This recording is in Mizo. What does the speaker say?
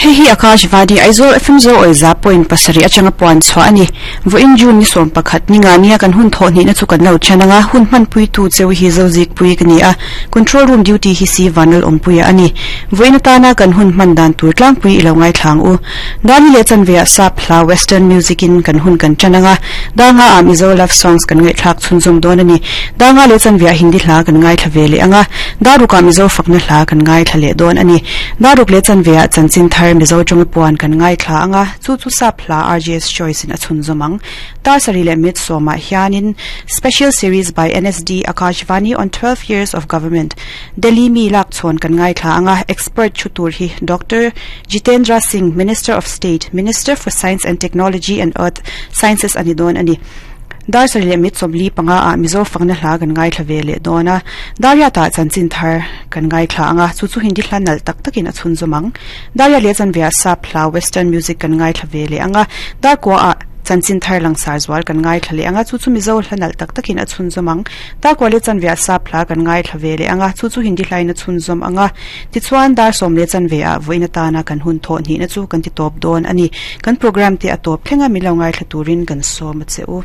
Hei hi Akashvani Aizawl FM Zo awi za point pasarih atanga puan chhuah a ni. Vawiin June ni sawm pakhat ni nga nia kan hun thawh hnihna chu kan lo then anga hun hmanpuitu cheu hi Zozikpui ka ni a, Control Room duty hi si Vanlal Awmpuia a ni. Vawiin atana kan hun hman dan tur tlangpui i lo ngaithlang u. Dani leh chanveah sap hla Western music in kan hun kan tan anga, Danga ah Mizo love songs kan ngaihthlak chhunzawm dawn a ni. Danga leh chanveah Hindi hla kan ngaithla ve leh anga, Darukah Mizo fakna hla kan ngaithla leh dawn a ni. Daruk leh chanveah chanchin thar Mizo tawnga puan kan ngaithla anga, chu chu sap hla RJ's Choice in a chhunzawm ang. Dar sarih leh mit sawmah hianin Special Series by NSD Akashvani on 12 Years of Government, Delhi mi lak chhawn kan ngaithla anga, expert thu tur hi Doctor Jitendra Singh, Minister of State, Minister for Science and Technology and Earth Sciences a ni dawn a ni. Dar sarih leh mit sawmli panga ah Mizo fakna hla kan ngaithla ve leh dawn a, Dariat ah chanchin thar kan ngaithla anga, chu chu Hindi hla nalh tak takin a chhunzawm ang. Daria leh chanveah sap hla Western music kan ngaithla ve leh ang a, Darkua ah chanchin thar langsar zual kan ngaithla leh ang a, chu chu Mizo hla nalh tak takin a chhunzawm ang. Darkua leh chanveah sap hla kan ngaithla ve leh ang a, chu chu Hindi hlain a chhunzawm ang a. Tichuan, dar sawm leh chanveah vawiin atana kan hun thawh hnihna chu kan ti tawp dawn a ni. Kan programme te a tawp thleng a, min lo ngaithla turin kan sawm a che u.